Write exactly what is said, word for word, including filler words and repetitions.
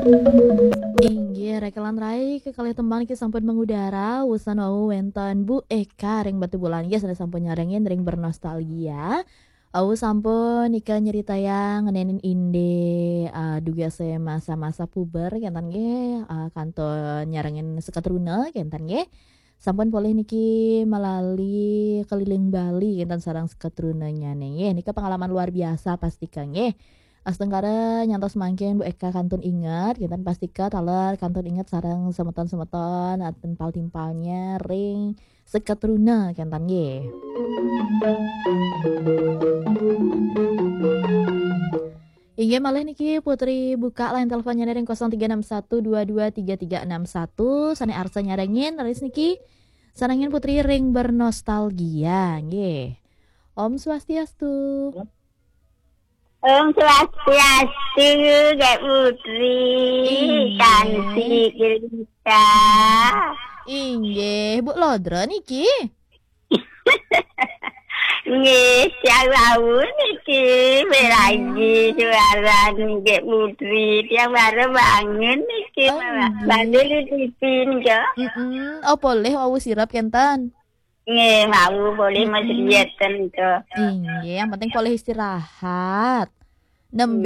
Inggih, rekelan rai kekalih tembang niki sampun mengudara, wusan wau wenten Bu Eka ring Batubulan nggih, sané sampun nyarengin ring bernostalgia. Wau sampun nika nyeritayang ngenénin indik, eh, dugasé masa-masa puber kénten nggih, eh, kantun nyarengin seketruna kénten nggih. Sampun polih niki malali keliling Bali kénten sareng seketrunanyané nggih. Nika pengalaman luar biasa pastika nggih. Astungkara nyantos mangkin Bu Eka kantun inget, kénten pastika taler kantun inget sareng semeton-semeton, eh, timpal-timpalnya ring seketruna kénten nggih. Inggih malih niki Putri buka line teleponnya ring kosong tiga enam satu dua dua tiga tiga enam satu. Sané arsa nyarengin raris niki sarengin Putri ring bernostalgia nggih. Om Swastiastu. Om Swastiastu, Kak Putri, Inggih. Kanti Gelita. Inggih, Bu Lodra niki. Nggih, siang wau niki, melagi suara nggih Putri. Tiang baru bangun niki, Oh, Mbak. nggih. Bangun di T V nggih. Mm-mm. Oh, polih wau sirep kénten. Nggih, wau boleh Mm-mm. Mas Rieten nggih. Inggih, yang penting polih istirahat. Nembe